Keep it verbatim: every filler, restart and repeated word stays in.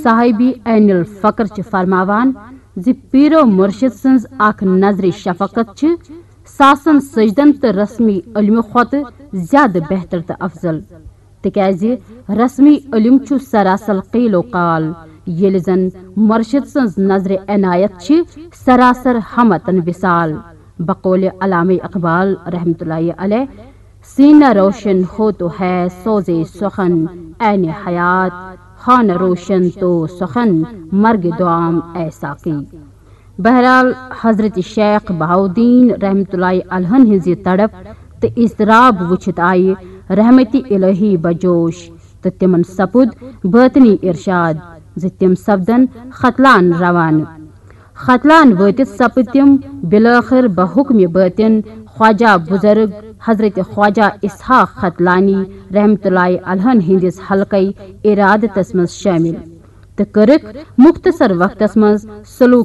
صاحبی عین الفقر چھِ فرماوان زِ پیرو مرشد سٕنٛز اکھ نظرِ شفقت چھِ ساسن سجدن تہٕ رسمی علمہٕ کھۄتہٕ زیادٕ بہتر تہٕ افضل، تِکیازِ رسمی علم چھُ سراسر قیل و قال، ییٚلہِ زن مرشد سٕنٛز نظرِ عنایت چھِ سراسر ہمتن وصال۔ بقول علامہ اقبال رحمت اللہ علیہ، سینہ روشن ہو تو ہے سوزے سخن، عین حیات، خانہ روشن تو سخن، مرگ دعام اے ساقی۔ بہرحال، حضرت شیخ بہاؤالدین رحمت اللہ علیہ ہن ہٕنٛز یہِ تڑپ تہٕ اضطراب وٕچھِتھ آیہِ رحمت الہی بجوش تہٕ تِمن سپُد باطنی ارشاد زِ تِم سپدن ختلان روانہٕ۔ ختلان وٲتِتھ سپٕدۍ تِم بالآخر بحکم باطن خواجہ بزرگ حضرت خواجہ اسحاق ختلانی رحمت اللہ علیہ ہن ہٕنٛدِس حلقے ارادتس منٛز شٲمِل تہٕ کٔرٕکھ مختصر وقتس منٛز سلوک